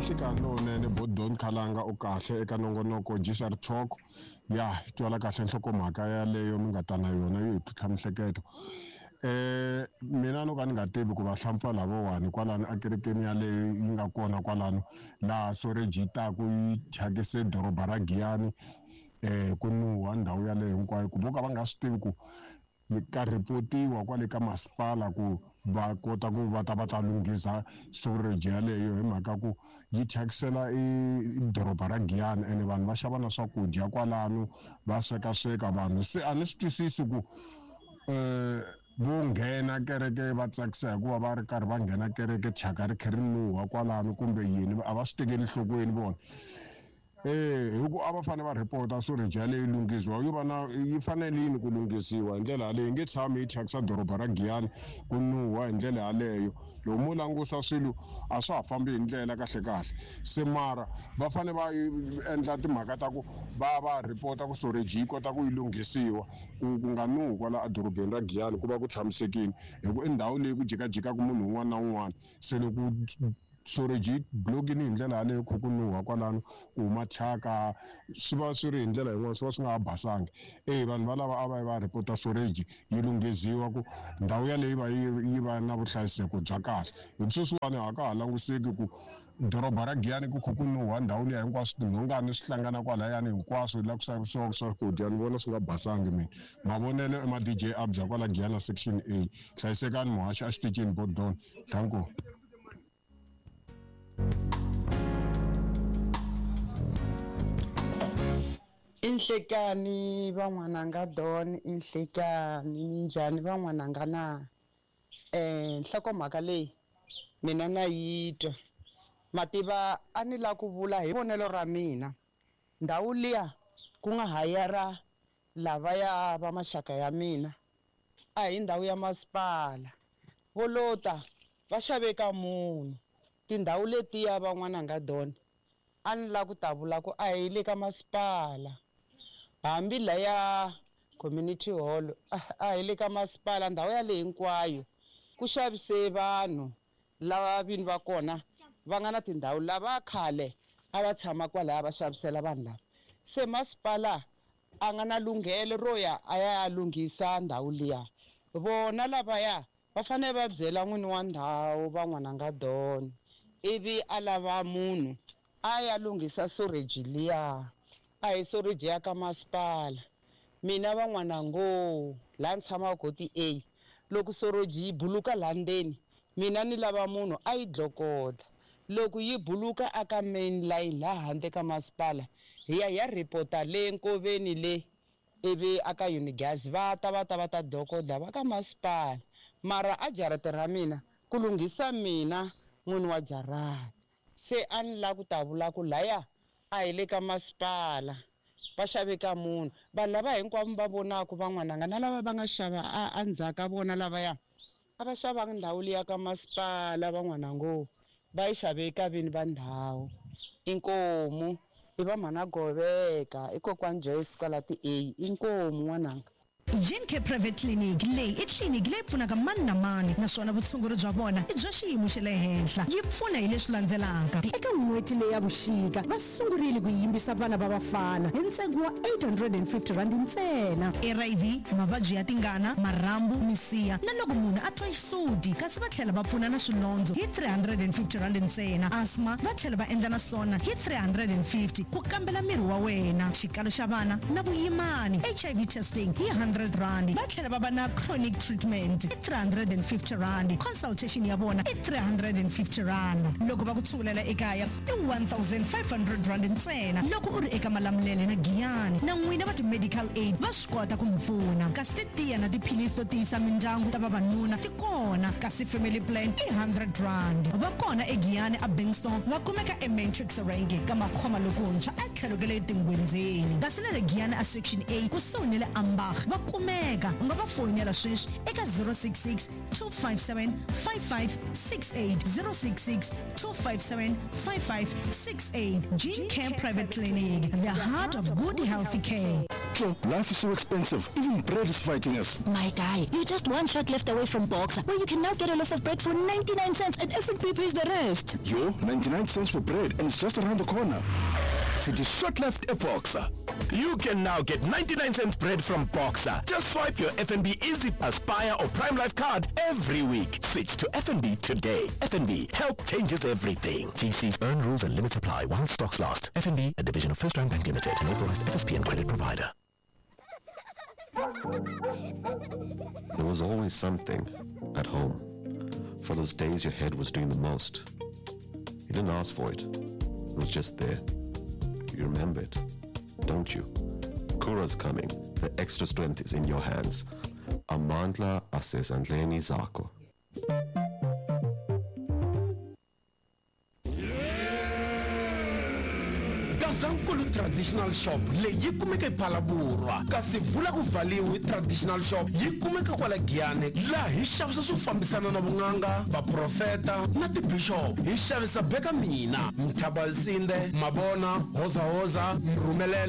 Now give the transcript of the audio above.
Nhlikani lowunene Bodon Khalanga u kahle eka nongonoko GSR Talk ya twala kahle nhlokomhaka yaleyo mi nga ta na yona yo hi tlhutlha mihleketo. Mina no ka ni nga tivi ku vahlampfa lavawani kwalano ekerekeni yaleyo yi nga kona kwalano laha soreji yi taku yi thyakise doroba ra Giyani ku nuha ndhawu yaleyo hinkwayo ku vo ka va nga swi tivi ku yi ka report-iwa kwale ka masipala ku va kota ku va ta va ta lunghisa sewerage yaleyo hi mhaka ku yi thyakisela i doroba ra Giyani ene vanhu va xava na swakudya kwalano va sweka sweka vanhu se a ni swi twisisi ku vo nghena kereke va tsakisa hikuva va ri karhi va nghena kereke thyaka ri kha ri nuha kwalano kumbe yini a va swi tekeli enhlokweni vona. E hi ku a va fanele va report-a sewerage yaleyo yi lunghisiwa yo va na yi fanele yini ku lunghisiwa hi ndlela yaleyo yi nge tshami yi thyakisa doroba ra Giyani ku nuha hi ndlela yaleyo loko mo langusa swilo a swa ha fambi hi ndlela kahle kahle se mara va fanele va endla timhaka ta ku va va report-a ku sewerage yi kota ku yi lunghisiwa ku ku nga nuhi kwala edorobeni ra Giyani ku va ku tshamisekile hi ku i ndhawu leyi ku jikajikaka munhu un'wana na un'wana se loko Sewerage yi block-ini hi ndlela yaleyo kha ku nuha kwalano ku huma thyaka swi va swi ri hi ndlela yin'wana swi va swi nga ha basangi e vanhu valava a va yi va report-a sewerage yi lunghiziwa ku ndhawu yaleyo yi va yi yi va na vuhlayiseko bya kahle hi ku sweswiwani a ka ha languseki ku doroba ra Giyani ku kha ku nuha ndhawu liya hinkwaswo tinhongani swi hlangana kwalayani hinkwaswo la ku xavisiwaka swakudya ni vona swi nga basangi mina mavonelo i ma D_J Abza kwala Giyani section A hlayisekani muhaxi exitichini Bodon danko. I nhlekani van'wananga Don i nhlekani minjhani van'wananga na? Nhlokomhaka leyi mina na yi twa ma tiva a ni la ku vula hi vonelo ra mina ndhawu liya ku nga hayara lavaya va maxaka ya mina a hi ndhawu ya masipala vo lo ta va xave ka munhu tindhawu letiya van'wananga Don a ni la ku ta vula ku a hi le ka masipala hambi laya community hall a hi le ka masipala ndhawu yaleyi hinkwayo ku xavise vanhu lava vini va kona va nga na tindhawu lava khale a va tshama kwalaya va xavisela vanhu lava se masipala a nga na lunghelo ro ya a ya lunghisa ndhawu liya vona lavaya va fanele va byela n'wini wa ndhawu van'wananga Don ivi a lava munhu a ya lunghisa sewerage liya a hi sewerage ya ka masipala mina van'wanango laha ni tshamaka koti A loko sewerage yi buluka laha ndzeni mina ni lava munhu a yi dlokodla loko yi buluka aka main line laha handle ka masipala hi ya hi ya report-a le nkoveni le ivi aka Unigas va ta va ta va ta dokodla va ka masipala mara a jarata ra mina ku lunghisa mina n'wini wa jarata se a ni la ku ta vula ku laya a hi le ka masipala va xave ka munhu vanhu lava hinkwavo va vonaka van'wananga na lava va nga xava a endzhaku ka vona lavaya a va xavanga ndhawu liya ka masipala van'wanango va yi xave ka vini va ndhawu inkomu i va mhana Goveka i kokwani Joyce kwala ti-A inkomu n'wananga. Gene Private Clinic leyi i tliliniki leyi pfunaka mani na mani naswona vutshunguri bya vona i bya xiyimo xa le henhla. Yi pfuna hi leswi landzelaka. Eka n'hweti leyi ya vuxika, va sungurile ku yimbisa vana va vafana hi ntsengo wa R850 ntsena. HIV, mavabyi ya tingana, marhambu, misiha na loko munhu a twa xisuti kasi va tlhela va pfuna na swilondzo hi R350 ntsena. Asthma va tlhela va endla na swona hi R350 ku kambela miri wa wena, xikalo xa vana na vuyimani, HIV testing hi R100. Va tlhela va va na chronic treatment i R350, consultation ya vona i R350. Loko va ku tshungulela ekaya i R1500 ntsena loko u ri eka Malamulele na Giyani. Na n'wina va ti-medical aid va swi kota ku mi pfuna. Kasi titiya na tiphilisi to tiyisa mindyangu ta vavanuna ti kona, kasi family plan i R100. Va kona eGiyani aBingston, va kumeka eMatrix Rank ka Makhoma lokuntshwa etlhelo ka le Tingwenzeni. Kasi na le Giyani a Section A kusuhi ni le Ambach va. kumeka. U nga va foyinela sweswi eka 066 257 5568, 066 257 5568. Gene Care Private Clinic, the heart of good healthy care. Joe, life is so expensive. Even bread is fighting us. My guy, you're just one shot left away from Boxer, where you can now get a loaf of bread for 99 cents and FNB pays the rest. Yo, 99 cents for bread and it's just around the corner. City shot left a Boxer. You can now get 99 cents bread from Boxer. Just swipe your FNB Easy Aspire or Prime Life card every week. Switch to FNB today. FNB, help changes everything. GC's earn rules and limits apply while stocks last. FNB, a division of First Round Bank Limited, an authorized FSP and credit provider. There was always something at home. For those days your head was doing the most. You didn't ask for it. It was just there. You remember it, don't you? Kura's coming. The extra strength is in your hands. Amandla asezandleni zakho. Gazankulu Traditional Shop leyi yi kumeka ePhalaborwa, kasi vula ku valiwe Traditional Shop yi kumeka kwala Giyani, laha hi xavisa swo fambisana na vun'anga, vaprofeta na tibishop. Hi xavisa beka mina, Mthabalsinde, Mabona, Hozahoza, Mrhumelelo.